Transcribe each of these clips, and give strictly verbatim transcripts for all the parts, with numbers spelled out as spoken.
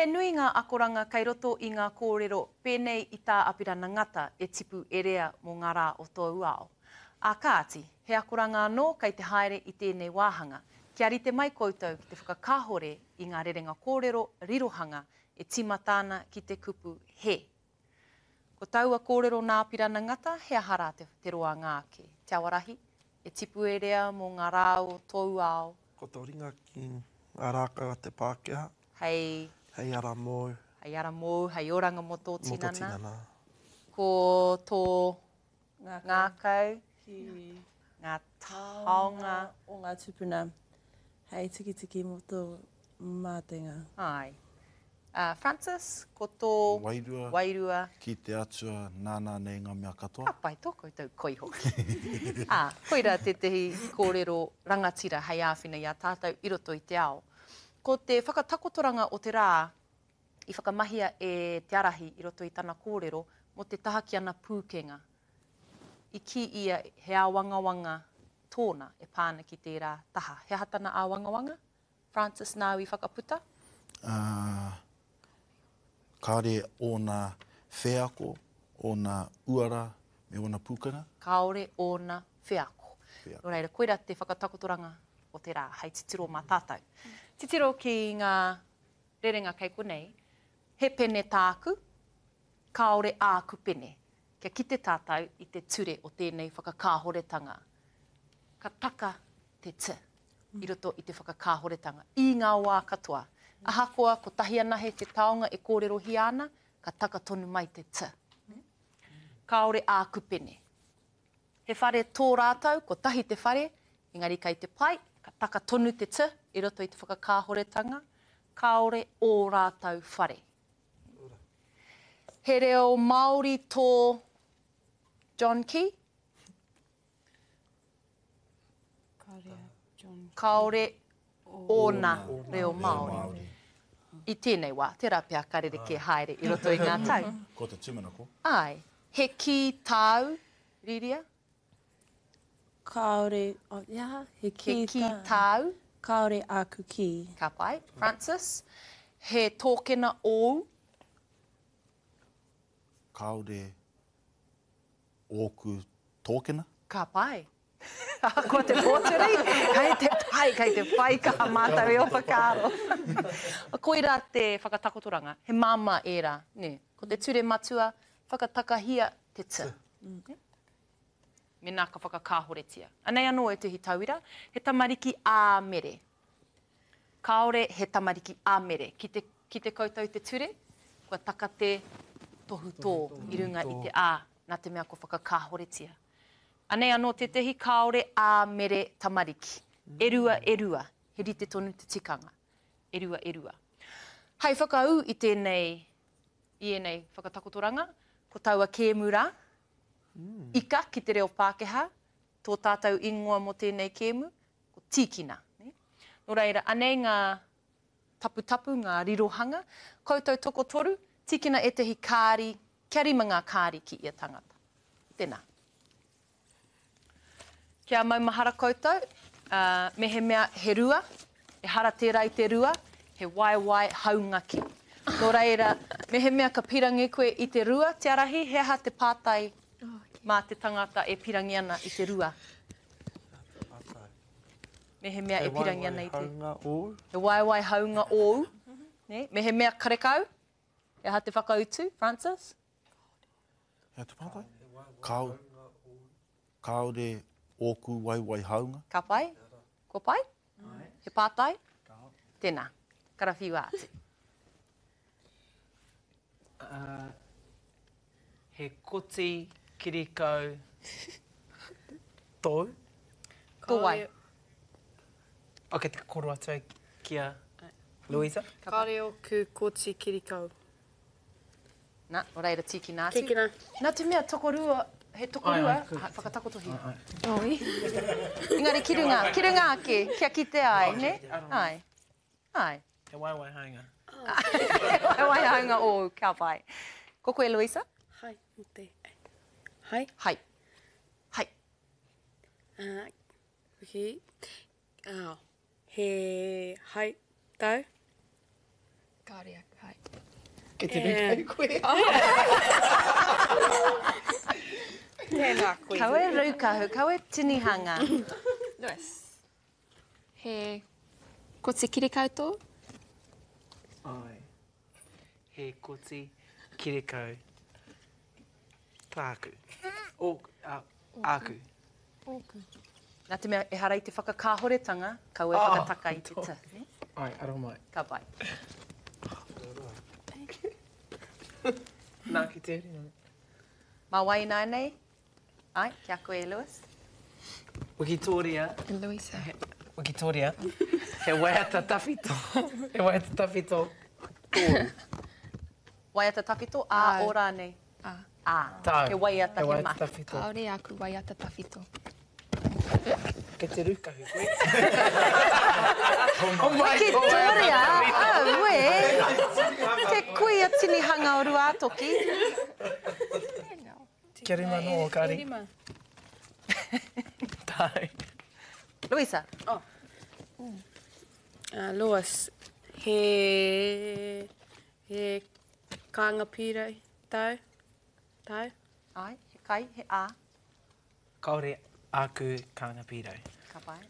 He nui ngā akoranga kei roto i ngā kōrero pēnei i tā Apirana Ngata e tipu e rea mō ngā rā o tōu ao. Ā kāti, he akoranga anō kei te haere i tēnei wāhanga, kia rite mai koutou ki te whakakāhore i ngā rerenga kōrero rirohanga e tīmata ana ki te kupu he. Ko taua kōrero nā Apirana Ngata, he aha rā te, te roanga ake? Te Awarahi, e tipu e rea mō ngā rā o tōu ao. Ko tō ringa ki ngā rākau a te Pākehā. Hei. Hei ara mōu. Hei ara mōu, hei oranga mō tō tinana. Mō tō tinana. Ko tō ngākau. Ki. Ngā taonga. O ngā tūpuna. Hei tikitiki mō tō mātenga. Āe. Uh, Francis, ko tō wairua, wairua. Ki te Atua nāna nei ngā mea katoa. Ka pai tō koutou koi hoki. Ā, koirā tētehi kōrero rangatira hei āwhina i a tātou i roto i te ao. Ko te whakatakotoranga o te rā i whakamahia e Te Arahi i roto i tana kōrero mō te taha ki ana pūkenga. I kī ia he āwangawanga tōna e pā ana ki tērā taha. He aha tana āwangawanga? Francis, nāu i whakaputa? Ā, kāore ōna wheako, ōna uara me ōna pūkenga? Kāore ōna wheako. Wheako. Nō reira, koirā te whakatakotoranga o te rā, hei titiro mā tātou. Titiro ki ngā rerenga kei konei, he pene tāku, kāore āku pene. Kia kite tātou i te ture o tēnei whakakāhoretanga. Ka taka te t i roto i te whakakāhoretanga, i ngā wā katoa. Ahakoa kotahi anahe te taonga e kōrerohia ana, ka taka tonu mai te t. Kāore āku pene. He whare tō rātou, kotahi te whare, engari kei te pai, ka taka tonu te t i roto i te whakakāhoretanga, kāore ō rātou whare. He reo Māori tō John Key? Kāore ōna reo Māori. I tēnei wā, tērā pea ka rerekē haere i roto i ngā tau. Ko te tūmanako. Āe. He kī tāu, Rīria? Kāore, oh, he aha? He kī, he kī tāu. Kāore āku kī. Ka pai. Francis, he tōkena ōu? Kāore ōku tōkena. Ka pai. Ahakoa te pōturi, kei te pai, kei te whai kaha mātou i ō whakaaro. Koirā te whakatakotoranga, he māmā ērā, nē. Ko te ture matua, whakatakahia te t. Mēnā ka whakakāhoretia. Anei anō ētehi tauira, he tamariki ā Mere. Kāore he tamariki ā Mere. Ki te, ki te koutou te ture, kua taka te tohutō i runga i te ā, nā te mea kua whakakāhoretia. Anei anō tētehi kāore ā Mere tamariki. E rua, e rua. He rite tonu te tikanga. E rua, e rua. Hei whakaū i tēnei, i ēnei whakatakotoranga, ko taua kēmu rā, ika ki te reo Pākehā, tō tātou ingoa mō tēnei kēmu, ko Tīkina. Nō reira, anei ngā taputapu, ngā rirohanga. Koutou tokotoru, tīkina ētehi kāri, kia rima ngā kāri ki ia tangata. Tēnā. Kia maumahara koutou, uh, mehemea he rua, ehara tērā i te rua, he waewae haungaki. Nō reira, mehemea ka pirangi koe i te rua, Te Arahi, he aha te pātai mā te tangata e pirangi ana i te rua? Mehemea e pirangi ana i te... He waewae haunga ōu. He waewae haunga ōu. Ne? Mehemea karekau, he aha te whakautu, Francis? He aha te pātai? Kāo, kāore ōku waewae haunga. Ka pai? Kua pai? He pātai? Tēnā, karawhiua atu. Uh, he koti kirikau tōu. Tō wai? Ok, te koro atu ai ki a Louisa. Kāore ōku koti kirikau. Nā, nō reira tīkina atu. Tīkina. Nā te mea tokorua, he tokorua, whakatakotohia. Oi. Engari ki runga, ki runga ake, kia kitea ai, ne? Ai. Ai. He waewae haunga. He waewae haunga ōu, ka pai. Ko koe, Louisa? Hai, mō te... Hai? Hai. Hai. Uh, okay. Oh, he hai tau? Kāore aku, hai. Kei te rūkahu koe. Tēnā koe. Kaua e rūkahu, kaua e tinihanga. Lewis. He koti kirikau tō? Ai. He koti kirikau tāku. O, a, āku. Ōku. Nā te mea, ehara i te whakakāhoretanga, kaua e Oh, whakataka i te t. Ne? Ai, aro mai. Ka pai. Nā, ki te uri. Mā wai ināianei? Ai, kia koe, Lewis. Wikitoria. Louisa. He, Wikitoria. He waiata tawhito. He waiata tawhito. Tōu. Waiata tawhito, a Ai. o rānei? A. A. Tāu. He waiata, He he waiata mahi. tawhito. Kāore aku waiata tawhito. Kei te rūkahu koe. Oh my Wikitoria, aue! Te kuia tinihanga o Ruātoki. Kia rima no, kari. Rima. Tāu. Louisa. Oh. Uh, Lewis, he, he kānga pīrau tau, tau. Ai, he kai, he a. Kāore aku kānga pīrau. Ka pai.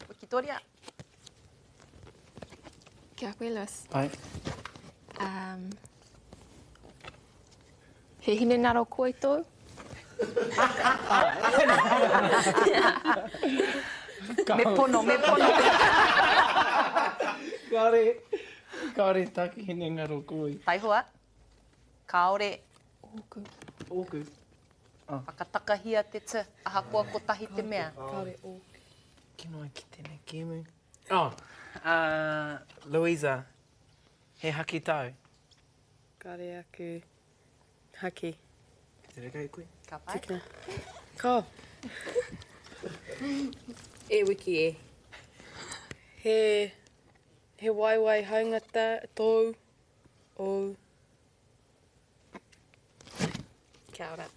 Wikitoria. Kia koe, Lewis. Ai. Um, he hinengaro koi tōu? Me pono, me pono. Kāore, kāore tāku hinengaro koi. Taihoa. Kāore Ōku. Ōku. whakatakahia te t, ahakoa kotahi te mea. Kāore ōku. Kino ai ki tēnei kēmu. Oh, uh, Louisa, he haki tau. Kāre aku haki. Te reka koe? Ka pai. Tikina. Ka. E wiki e. He, he waiwai haungata tōu, ou. Kia ora.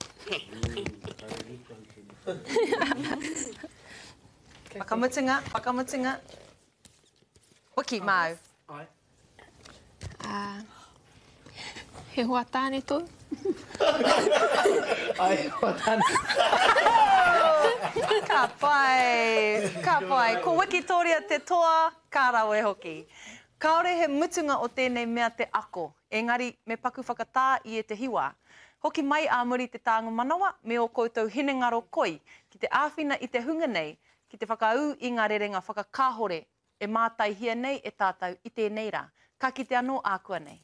Whakamutunga, whakamutunga. Wiki, māu. Ai. Uh, he hoa tāne tōu? Ai, hoa tāne. Ka pai, ka pai. Ko Wikitoria te toa, ka rawe hoki. Kāore he mutunga o tēnei mea te ako, engari me paku whakatā i e te hiwa. Hoki mai ā muri te tānga manawa me o koutou hinengaro koi ki te āwhina i te hunga nei, ki te whakaū i ngā rerenga whakakāhore e mātaihia nei e tātou i tēnei rā. Ka kite anō ākua nei.